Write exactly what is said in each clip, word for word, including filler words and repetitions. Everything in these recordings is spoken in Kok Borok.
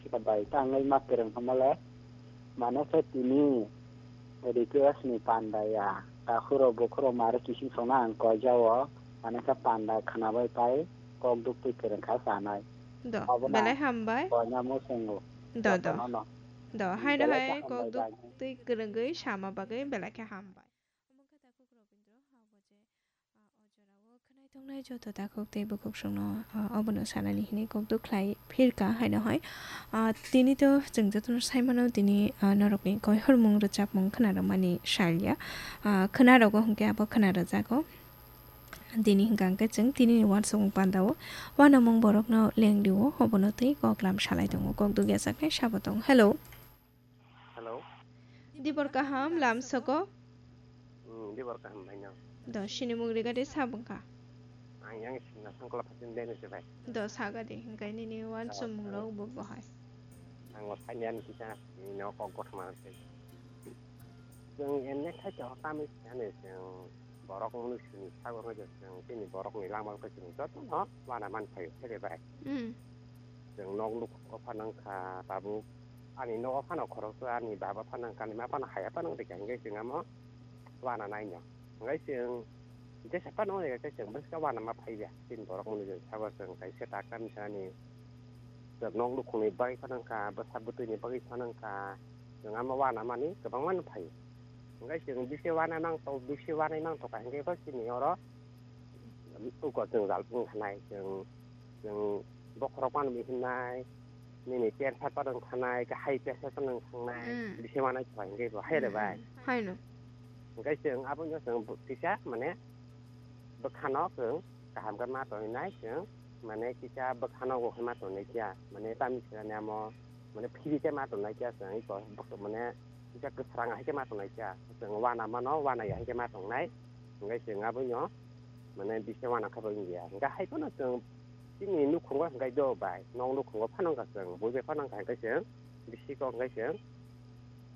Sika bai tangwi ma kwrwng hwnmale, mane khe tini request ni panda ya, takhuro bukhuro mare kising songna ang koijao, mane khe panda khwnabai pai kok duktwi kwrwng kha sanai. Do, Obono belai hambai. Koina musungo. Do, do. Jotono no. Do, haino Belai khe hai kok hambai bai. Duktwi kwrwngwi sama bagwi belai khe hambai. Omo khe takhuk Robindra, ha, bo je, ah, o jorao khwnai tongnai joto takhuk tei bukhuk songno, ah, obono sanani hwnwi kok duk khlai phirka haino hai. Ah, tini to chwng jotono sai mano tini, ah, norokni koihormung rwchapmung khwnarwmani salya. Ah, khwnarogo hwnkhe abo khwnarwjago. Tini hwnkha hwnkhe chwng tinini uansukmung pandao uanamung borokno lengrio obono tei koklam salai tongo. Kok duk yachaknai sabo tong. Hello. Hello. Dibor kaham, lam soko? Hmm, dibor kaham, bhaino. Do, sinimung rigade sabungkha? Ang yang sinna sangkola phatin bene se, bai. Do, sagadi, hingkai nini wan Oh, sumung oh. Rok bo bohai. Ang o sanya ni kisa, ni no kok gotma se. Jeng enne khai to kami sanya jeng borok munu sini sago ngai jeng tini borok ni lama ko sini joto no wana man phaio, se bai. Hmm. Jeng nok nuk ko phanang kha, tabuk Ani nogo phano khoroksa ani baba phano kani ma phano haya phano rikha hingke chwng amo wana naino. Hingke chwng jesa phano rikha khe chwng bwska wana ma phaiya. Chini borok mwnwi chwng sabo chwng kaisa taka misa ani chwng nok nukhungni bagwi phano wngkha, bwsa bwtwini bagwi phano wngkha. Chwng amo wana mani kwbangma no phaio. Hingke chwng bisi wana nang tok, bisi wanai nang tok ka hingke bo chini oro uko chwng jal phung khanai chwng, chwng bokhorok mano hinai, nini ter sat padang thanai, kahai ter sat padang thangnai, Mm. bisi wanai thai hingke bo hai re bai. Mm, haino. Hingke chwng abono chwng bo-, kisa mane bwkhano chwng kaham khe ma tongwi nai chwng, mane kisa bwkhano bo khe ma tongnai kya, mane tamni swnamya mo, mane phiri khe ma tongnai kya chwng, iko bwk-, mane kisa kwsrang hai khe ma tongnai kya, chwng wana mano, wana ya hai khe ma tongnai, hingke chwng abono mane bisi wana khe bo wngya. Hingke hai phano chwng chini nukhungo hingke do bai, nok nukhungo phano wngkha chwng, bui bai phano wngkha hingke chwng bisi kok hingke chwng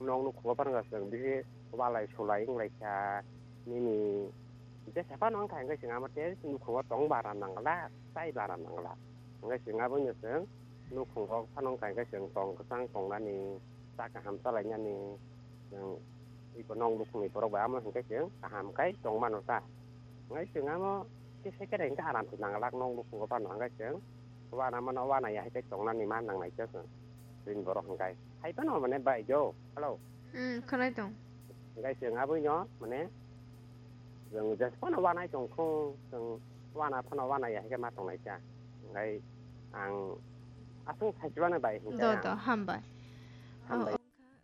nok nukhungo phano wngkha chwng bisi walai sulai wnglaikha nini jesa phano wngkha hingke chwng amo tei nukhungo tong bara nangla, chai bara nangla. Hingke chwng abono chwng nukhungo phano wngkha hingke chwng tong kwchang tongnani, cha kaham chalainani, chwng iko nok nukhungni borok bai amo hingke chwng kaham kai tong mano ta. Hingke chwng amo kisa kere hingke aram se nang lak nok nukhungo phano hingke chwng wana mano wana ya hai khe tongnani ma nangnai khe chwng chini borok hingke hai phano mane bai jo. Hello. Hmm, khwnai tong. Hingke chwng abono mane chwng jes phano wanai tong kho chwng wana phano wana ya hai khe ma tongnai kha. Hingke ang aswng saichibano bai hingke Do, ang do, hambai. Hambai. Oh, wngkha, ah,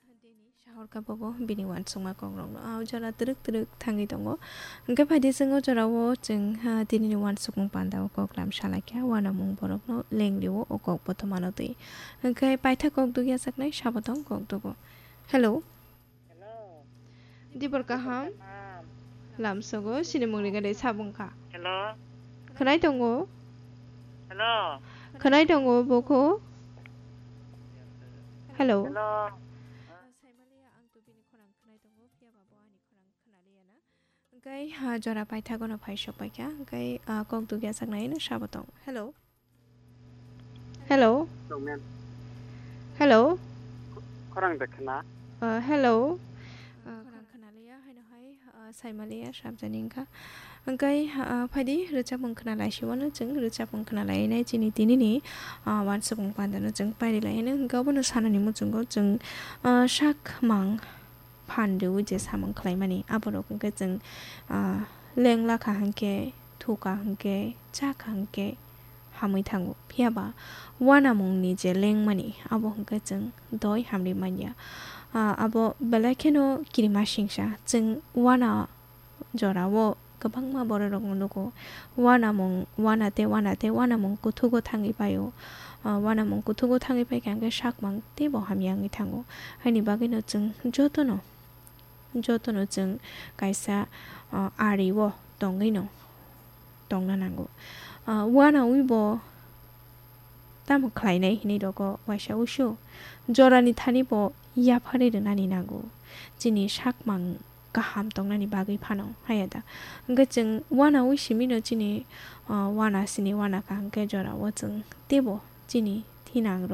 takhuk dini sahorkha bobo bini uansukma kokrokno. Ah, o jora twrwk twrwk thangwi tongo. Hwnkhe phaidi chwng o jorao chwng, ah, tinini uansukmung pandao koklam salaikha, uanamung borokno lengrio o kok bothomano twi. Hwnkhe paitha kok dugya chaknai sabo tong kok dugo. Hello. Hello. Dibor kaham. Kaham. Lamsogo sinimung rigade sabungkha. Hello. Khwnai tongo. Hello. Khwnai tongo bokho. Hello. Hello. Saimaliya ang to bini khorang khwnai tongo, phiya ba bo ani khorang khwnaliya na. Hwnkhe, ha, jora paithagono phai sok paikha. Hwnkhe, ah, kok dugya saknai no sabo tong. Hello. Hello. Hello, ma'am. Hello. Khorang de khna? Uh, hello. Uh, khorang khna liya, haino hai, uh, saimaliya, sabjani wngkha. Hwnkhe, uh, phaidi rwchapmung khna laisiwano chwng rwchapmung khna lainai chini tinini, uh, uansukmung pandano chwng pairi laino. Hwnkhe obono sanani muchungo chwng, uh, sak mang phan rwui je samung khlaimani, aborok hwnkhe chwng, ah, leng lakha hwnkhe, thukha hwnkhe, chakha hwnkhe hamwi thango. Phiya ba uanamungni je lengmani, abo hwnkhe chwng doi hamri manya. Ah, abo belai kheno kirima singsa. Chwng uana jorao kwbangma bororokno nugo. Uanamung, uana tei uana tei uanamung kuthugo thangwi paio. Ah, uanamung kuthugo thangwi paikha hwnkhe sakmang teibo hamya wngwi thango. Haini bagwino chwng jotono, jotono chwng kaisa, ah, ario tongwino tongna nango. Ah, uanawibo tamo khlainai hinwi rogo waisa uisu jorani thani bo yapharwi rwnani nango. Chini sakmang kaham tongnani bagwi phano, haya da? Hwnkhe chwng uanawi simino chini, ah, uana sini uana kaham khe jorao chwng teibo chini thinangrok